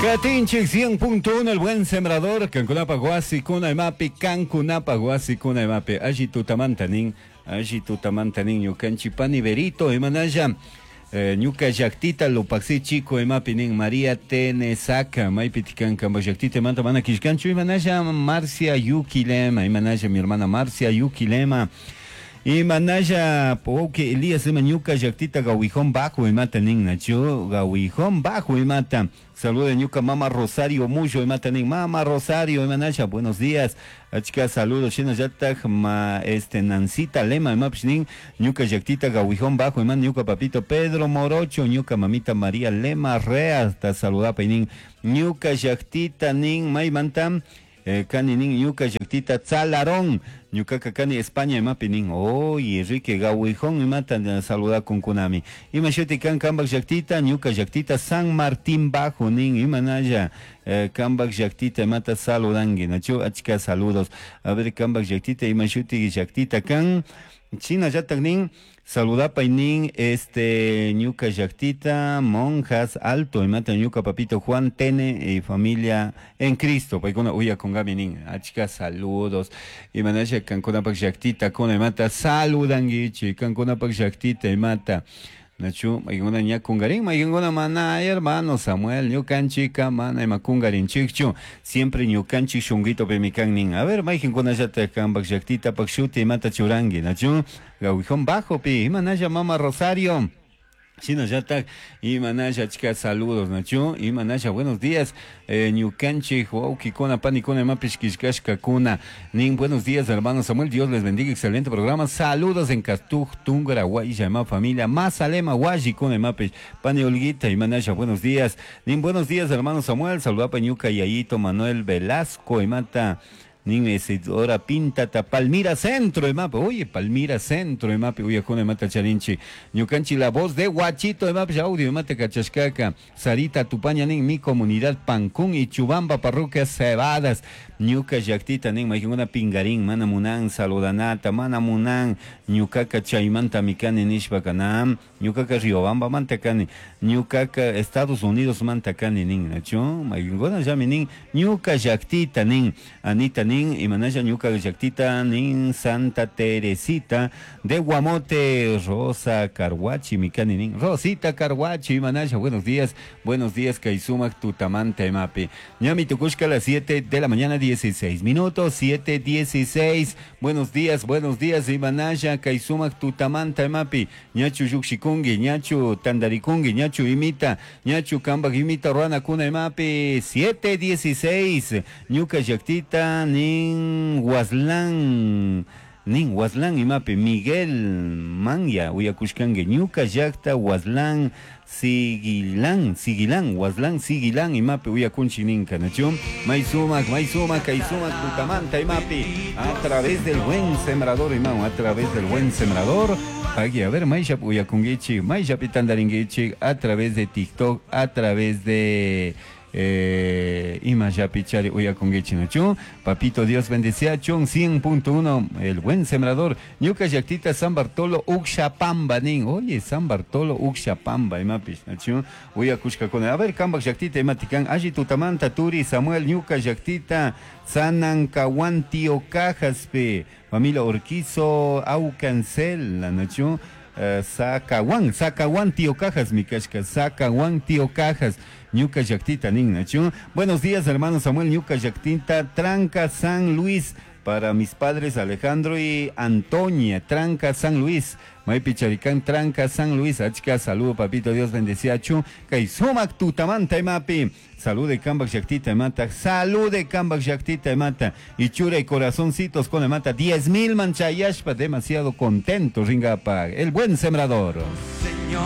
Katinchik 100.1 el buen sembrador, kankunapa wasikuna imapi, kankunapa wasikuna imapi, alli tutamanta nin, alli tutamanta nin, ñukanchik pani Berito imanalla, ñuka llaktita Lupaxi chico imapi nin, María Tenesaca, maypi tikan kanpak llaktita imanta mana killkanchu imanalla, Marcia Yuquilema, imanalla mi hermana Marcia Yuquilema, imanalla wawki Elías ima ñuka llaktita Gawijón Bajo imata nin, nachu Gawijón Bajo imata. Saludos ñuka mama Rosario Mullo imata nin, mama Rosario imanalla, buenos días. Achka saludos shinallataj ma este Nancita Lema imapish nin, ñuka llaktita Gawijón Bajo ima ñuka papito Pedro Morocho, ñuka mamita María Lema Rea, ta saludapa nin, ñuka llaktita nin maymanta kani nin ñuka llaktita Tzalarón, ñukaka kani España imapi nin, oye Enrique Gawijón imata saludakunkunami. Ima shuti kan kanpak llaktita, ñuka llaktita San Martín Bajo nin, imanalla kanpak llaktita imata saludanki, nachu achka saludos. A ver kanpak llaktita ima shuti llaktita kan, shinallatak nin, saludapay nin, este ñuka llaktita Monjas Alto imata ñuka papito Juan Tene y familia en Cristo, paykuna uyakunkami nin, achka saludos. Imanalla kankunapak llaktita kuna imata saludankichik, kankunapak llaktita imata. Nachu, maykuna ña kungarin, maykuna mana, hermano Samuel, ñukanchika mana ima kungarinchikchu, siempre ñukanchik shunguito pimikan nin. A ver, maykinkunallata kanpak llaktita pak shuti imata churanki, nachu, Gawijón Bajo pi, imanalla mama Rosario. Shinallatak imanalla achka saludos, nachu, imanalla buenos días, ñukanchik wawkikuna panikuna imapish killkashkakuna nin, buenos días hermano Samuel, Dios les bendiga, excelente programa, saludos en Castuj, Tungra, Guaya, ima familia, Mazalema, Guayikuna imapish, pani Olguita, imanalla, buenos días, nin, buenos días hermano Samuel, saludapa ñuka yayito Manuel Velasco, imata, nin Isidora Pintata, Palmira Centro, imapi, oye, Palmira Centro, imapi, uyakuna imata charinchi, ñukanchi la voz de Guachito, imapi, audio, imata kachashkaka, Sarita Tupaña, nin, mi comunidad Pancún y Chubamba, parroquia Cebadas, ñuka llaktita, nin, maykuna pingarín, mana munan, saludanata, mana munan, ñukaka chaymanta mikani nishpaka, nam, ñukaka Riobamba manta kani, ñukaka Estados Unidos manta kani, nin, nachu, maykuna llami, nin, ñuka llaktita, nin, Anita, nin, imanalla ñuka llaktita, nin, Santa Teresita de Guamote, Rosa Carhuachi, mikani, nin, Rosita Carhuachi, imanalla, buenos días, Kaisumak, Tutamanta, imapi. Ñami tukushka a las 7 de la mañana, 16 minutos, 7:16, buenos días, imanalla, Kaisumak, Tutamanta, imapi, ñachu yukshikungi, ñachu tandarikungi, ñachu imita, ñachu kambak imita, ruana kuna, imapi, 7:16, ñuka llaktita, nin Huaslán, nin Huaslán imapi, Miguel Manya, uyakushkanki, ñuka llakta Huaslán, Siguilán, Siguilán, Huaslán, Siguilán, imapi, uyakunchi ninka, nachu, Maisumak, Maisumak, Kaisumak, Tutamanta, imapi, a través del buen sembrador, imam, a través del buen sembrador, aquí, a ver, Maishap uyakungichi, Maishap itandaringichi, a través de TikTok, a través de ima yapichari uyakungichi, nachu, papito Dios bendecía, chun 100.1, el buen sembrador, ñuka llaktita San Bartolo Uxapamba, nin, oye, San Bartolo Uxapamba, imapish, nachu, uyakushkakuna, a ver, kambak llaktita imatikan, alli tutamanta, turi, Samuel, ñuka llaktita, Sanancahuan, Tío Cajaspe, familia Urquizo, Aucancel, nachu, Sacahuán, Sacahuán, Tío Cajas, mi kashka, Sacahuán, Tío Cajas, ñuka llaktita, nin, nachu. Buenos días, hermano Samuel, ñuka llaktita, Tranca San Luis, para mis padres Alejandro y Antonia, Tranca San Luis, Maypi Charicán, Tranca San Luis, achka, saludo, papito, Dios bendecía, chu, Kaisumak, tutamanta, imapi, salude, kambak llaktita, imata, salude, kambak llaktita, imata, y chura y corazoncitos con imata, 10,000 manchayashpa, demasiado contento, ringapa, el buen sembrador.